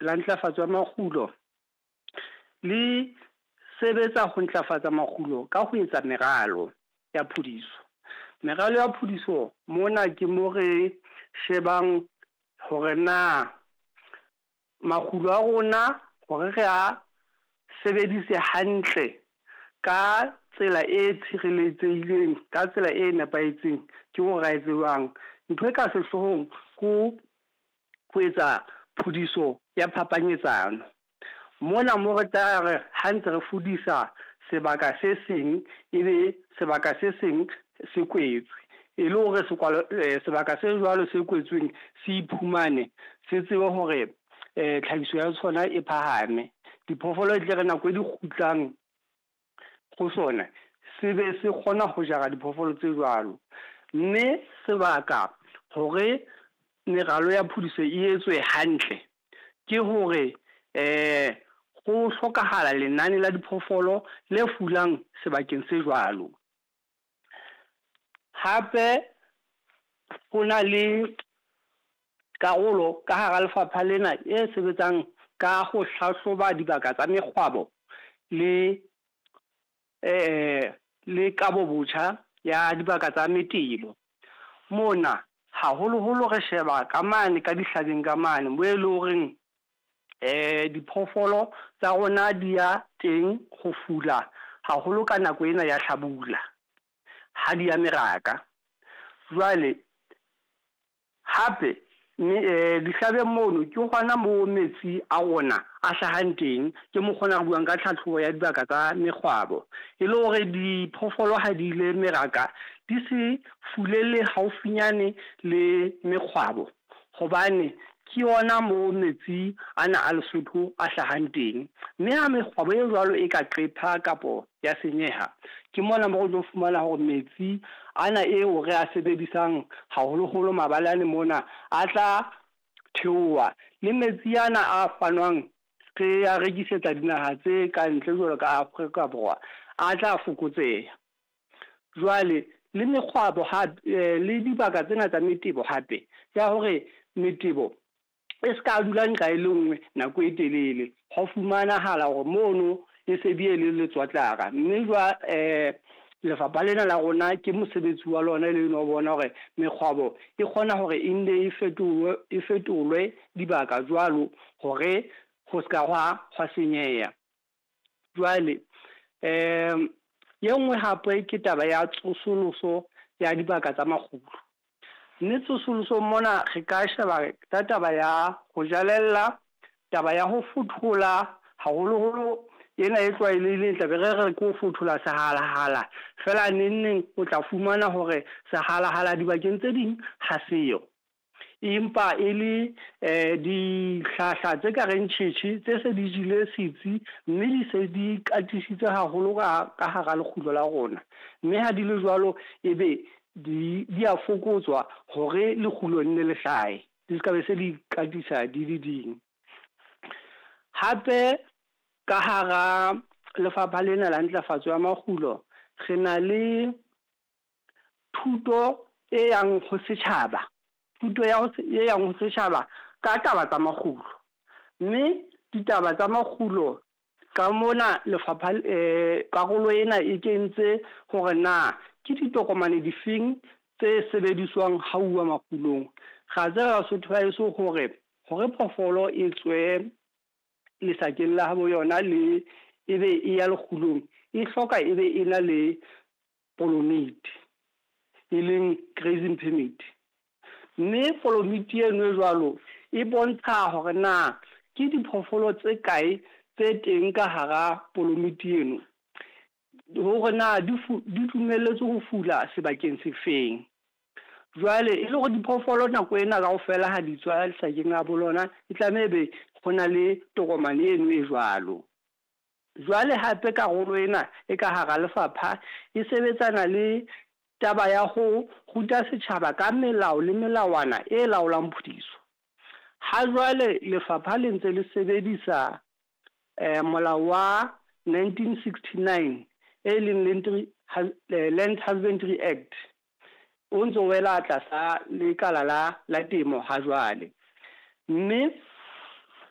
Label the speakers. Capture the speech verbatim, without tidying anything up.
Speaker 1: la Ntlafatso ya Makgulo le sebetsa ho ntlafatsa makgulo ka ho etsa meralo ya phudiso. Meralo ya phudiso mona ke mo re shebang hore na makgulo a rona hore re a sebedise hantle ka tsela e tshireletsehileng, ka tsela e nepahetseng, ke hore ra e tsebang. Ntho e ka sehlohong ko ho etsa phudiso ya phapanyetsano. Mona mo re tla re ha ntse re fudisa sebaka se seng, ebe sebaka se seng se kwetswe. E le hore sebaka se jwalo se kwetsweng se iphumane se tsebe hore tlhahiso ya sona e phahame. Diphoofolo e tle re nako e di kgutlang ho sona, se be se kgona ho jara diphoofolo tse jwalo. Mme sebaka hore meralo ya phudiso e etswe hantle, ke hore ho hlokahala lenane la diphoofolo le fulang sebakeng se jwalo. Hape ho na le karolo ka hara lefapha lena e sebetsang ka ho hlahloba dibaka tsa mekgwabo le le kabo botjha ya dibaka tsa metebo. Mona haholoholo re sheba ka mane ka dihlabeng ka mane moo e leng horeng diphoofolo tsa rona di ya teng ho fula haholo ka nako ena ya hlabula ha di ya meraka. Jwale hape dihlabeng mono ke hona moo metsi a rona a hlahang teng. Ke mokgwa ona re buang ka tlhahlobo ya dibaka tsa mekgwabo. E le hore diphoofolo ha di ile meraka di se fulele haufinyane le mekgwabo, hobane ke yona moo metsi ana a Lesotho a hlahang teng. Mme ha mekgwabo e jwalo e ka qepha kapo ya senyeha, ke mona mo re tlo fumana hore metsi ana eo re a sebedisang haholoholo mabalane mona a tla theoha. Le metsi ana a fanwang re a rekisetsa dinaha tse kantle jwalo ka Afrika Borwa a tla fokotseha. Jwale le mekgwabo hape le dibaka tsena tsa metebo hape ya hore metebo e ska dula nqa e le nngwe nako e telele. Ho fumanahala hore mono e se bile le letswatlara. Mme lefapha lena la rona ke mosebetsi wa lona e leng ho bona hore mekgwabo e kgona hore e nne e fetolwe e fetolwe dibaka jwalo hore ho ska hwa hwa senyeha. Jwale e nngwe hape ke taba ya tsosoloso ya dibaka tsa makgulo. Mme tsosolosong mona re ka sheba ka taba ya ho jalella, taba ya ho fothola haholoholo ena e tlwaelehileng tla be re re ke ho fothola sehalahala. Feela neng neng o tla fumana hore sehalahala dibakeng tse ding ha seyo. Empa e le dihlahla tse ka reng tjhetjhe tse se di jele setsi, mme di se di katisitse haholo ka ka hara lekgulo la rona. Mme ha di le jwalo, ebe di di a fokotswa hore lekgulo nne le hlahe. Di ska be se di katisa di le ding. Hape ka hara lefapha lena la Ntlafatso ya Makgulo re na le thuto e yang ho setjhaba. Thuto ya ho e yang ho setjhaba ka taba tsa makgulo. Mme ditaba tsa makgulo ka mona lefapha karolo ena e kentse hore na ke ditokomane difeng tse sebediswang ha uwa makgulong. Ra tseba Basotho ba heso hore hore phoofolo e tswe lesakeng la habo yona le ebe e ya lekgulong, e hloka e be e na le polomiti, e leng grazing permit. Mme polomiti eno e jwalo e bontsha hore na ke diphoofolo tse kae tse teng ka hara polomiti eno. Hore na di di dumelletswe ho fula sebakeng se feng. Jwale e le hore diphoofolo nako ena kaofela ha di tswa lesakeng la bo lona, e tlameha ebe ho na le tokomane eno e jwalo. Jwale hape karolo ena e ka hara lefapha e sebetsana le taba ya ho ruta setjhaba ka melao le melawana e laolang phudiso. Ha jwale lefapha le ntse le sebedisa molao wa nineteen sixty-nine e leng Land Husbandry Act. O ntso wela tlasa lekala la la temo ha jwale. Mme